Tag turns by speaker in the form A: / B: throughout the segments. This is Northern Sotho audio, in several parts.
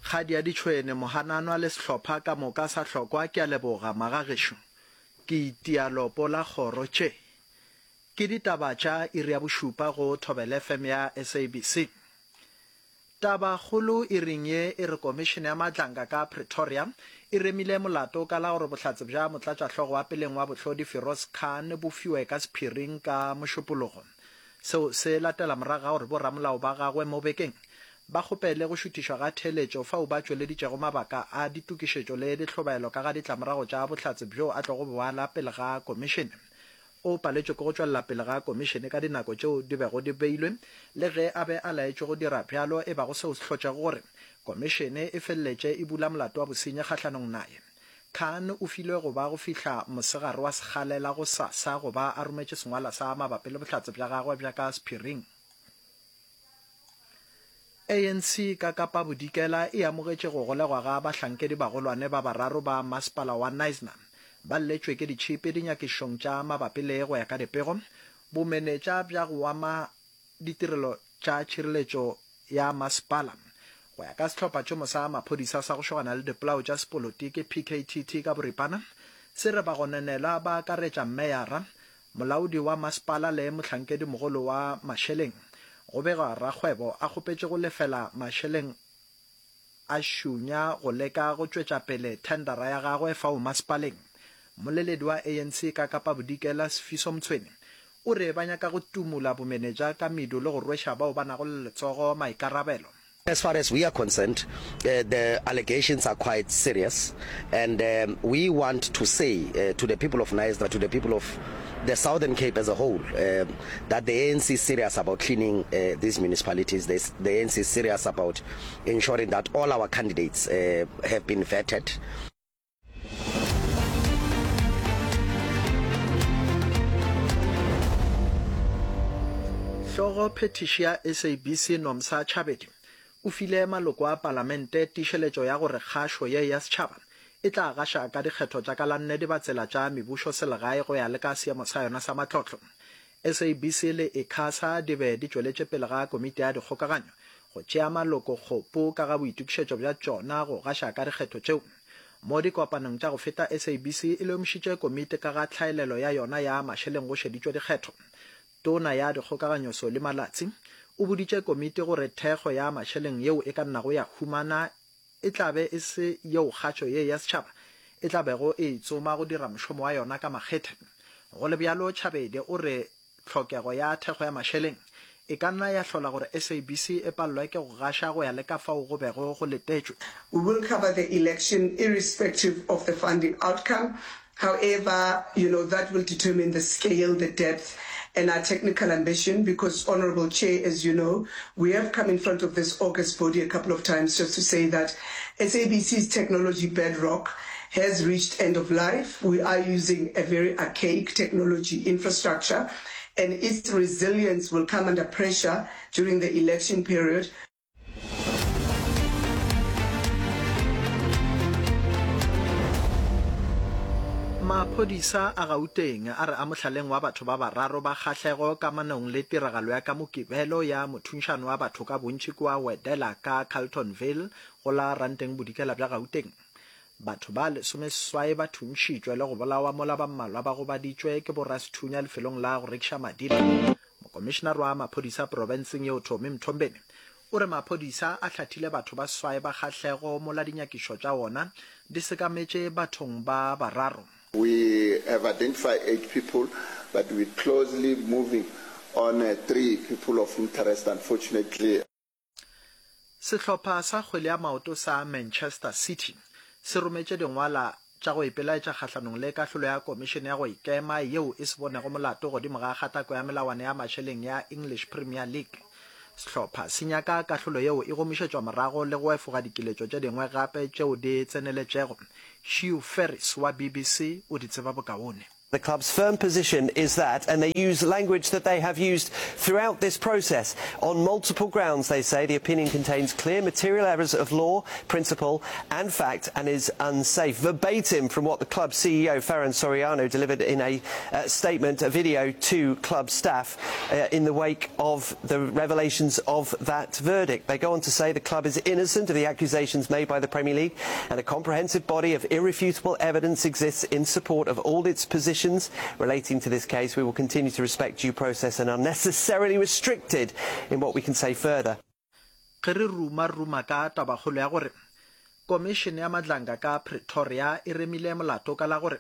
A: Kgadi ya ditšhwene, Mohananwa le sehlopha ka moka sa hlokwa ke a leboga, magagešo. Ke itia lopo la kgoro tše. Ke ditaba tša iri ya bošupa go Thobela FM ya SABC. Tabakgolo iring ye e re Komišene ya Madlanga ka Pretoria e remile molato ka la gore bohlatse bja motlatšahlogo wa peleng wa bohlodi Firoz Khan bo fiwe ka sephiring ka Mošupologo. Seo se latela morago ga gore boramolao ba gagwe mo bekeng ba kgopele go šuthišwa ga theeletšo fao ba tšweleditšego mabaka a ditokišetšo le dihlobaelo ka ga ditlamorago tša bohlatse bjo a tlogo bo ala pele ga komišene. O paletšwe ke go tšwelela pele ga komišene ka dinako tšeo di bego di beilwe le ge a be a laetšwe go dira bjalo e bago seo se hlotšego gore komišene e feleletše e bula molato wa bosenyi kgahlanong naye. Khan o filwe go ba go fihla mosegare wa sekgalela gosasa go ba a rometše sengwalwa sa mabapi le bohlatse bja gagwe bja ka sephiring. ANC ka Kapa Bodikela e amogetše go golegwa ga bahlankedi bagolwane ba bararo ba masepala wa Knysna ba lletšwe ke ditšhipi dinyakišišong tša mabapi le, go ya ka dipego, bomenetša bja go ama ditirelo tša tšhireletšo ya masepala. Go ya ka sehlophatšhomo sa maphodisa sa go šogana le dipolao tša sepolotiki, PKTT ka boripana, se re bagononelwa ba akaretša meyara, Molaodi wa masepala le mohlankedimogolo wa mašeleng. Go begwa rakgwebo a kgopetše go lefela mašeleng a šunya go leka go tšwetša pele thendara ya gagwe fao masepaleng. Mmoleledi wa ANC ka Kapa Bodikela, Sifiso Mtshweni, o re ba nyaka go tumula bomenetša ka medu le go rweša bao ba nago le letsogo maikarabelo.
B: As far as we are concerned, the allegations are quite serious and we want to say to the people of Knysna, to the people of the Southern Cape as a whole, that the ANC is serious about cleaning these municipalities. The, the ANC is serious about ensuring that all our candidates have been vetted.
A: Hlogo phethiši ya SABC Nomsa Chabedi o file maloko a palamente tiišeletšo ya gore kgašo ye ya setšhaba e tla gaša ka dikgetho tša ka la nne dibatsela tša mebušo selegae go ya le ka seemo sa yona sa matlotlo. SABC le ICASA di be di tšweletše pele ga komiti ya dikgokaganyo go tšea maloko kgopo ka ga boitokišetšo bja tšona go gaša ka dikgetho tšeo. Mo dikopanong tša go feta SABC e lemošitše komiti ka ga tlhaelelo ya yona ya mašeleng go šeditšwe dikgetho. Tona ya Dikgokaganyo Solly Malatsi o boditše komiti gore thekgo ya mašeleng yeo e ka nnago ya humana e tla be e se yeo kgašo ye ya setšhaba e tla bego e e tsoma go dira mošomo wa yona ka makgethe. Go le bjalo, Chabedi o re tlhokego ya thekgo ya mašeleng e ka nna ya hlola gore SABC e palelwe ke go gaša go ya le ka fao go bego go letetšwe.
C: We will cover the election irrespective of the funding outcome. However, you know, that will determine the scale, the depth and our technical ambition because, Honourable Chair, as you know, we have come in front of this august body a couple of times just to say that SABC's technology bedrock has reached end of life. We are using a very archaic technology infrastructure and its resilience will come under pressure during the election period.
A: Maphodisa a Gauteng a re a mohlaleng wa batho ba bararo ba kgahlego kamanong le tiragalo ya ka Mokibelo ya mothunšano wa batho ka bontši kua Wedela ka Carltonville go la Ranteng Bodikela bja Gauteng. Batho ba lesomeseswai ba thuntšhitšwe le go bolawa mola ba mmalwa ba gobaditšwe ke borasethunya lefelong la go rekiša madila. Mokomišenare wa maphodisa profenseng yeo Tommy Mthombeni o re maphodisa a hlathile batho ba swae ba kgahlego mola dinyakišo tša ona di sekametše bathong ba bararo.
D: We have identified eight people but we closely moving on three people of interest unfortunately.
A: Sehlopha sa kgwele ya maoto sa Manchester City se rometše dingwala tša go ipelaetša kgahlanong le kahlolo ya Komišene ya go Ikema yeo e se bonego molato godimo ga kgatako ya melawana ya mašeleng ya English Premier League. Sehlopha se nyaka kahlolo yeo e gomišetšwa morago le go efoga dikiletšo tše dingwe gape tšeo di tseneletšego. Hugh Ferris wa BBC o di tseba bokaone.
E: The club's firm position is that, and they use language that they have used throughout this process. On multiple grounds, they say, the opinion contains clear material errors of law, principle and fact and is unsafe. Verbatim from what the club CEO, Ferran Soriano, delivered in a uh, statement, a video to club staff uh, in the wake of the revelations of that verdict. They go on to say the club is innocent of the accusations made by the Premier League and a comprehensive body of irrefutable evidence exists in support of all its positions relating to this case. We will continue to respect due process and are necessarily restricted in what we can say further.
A: Ge re ruma ruma ka tabakgolo ya gore Komišene ya Madlanga ka Pretoria e remile molato ka la gore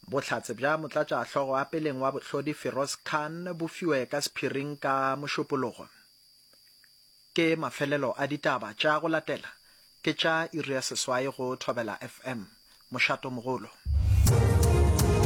A: bohlatse bja motlatšahlogo a peleng wa bohlodi Firoz Khan bo fiwe ka sephiring ka Mošupologo. Ke mafelelo a ditaba tša go latela ke tša iri ya seswai go Thobela FM, mošatomogolo.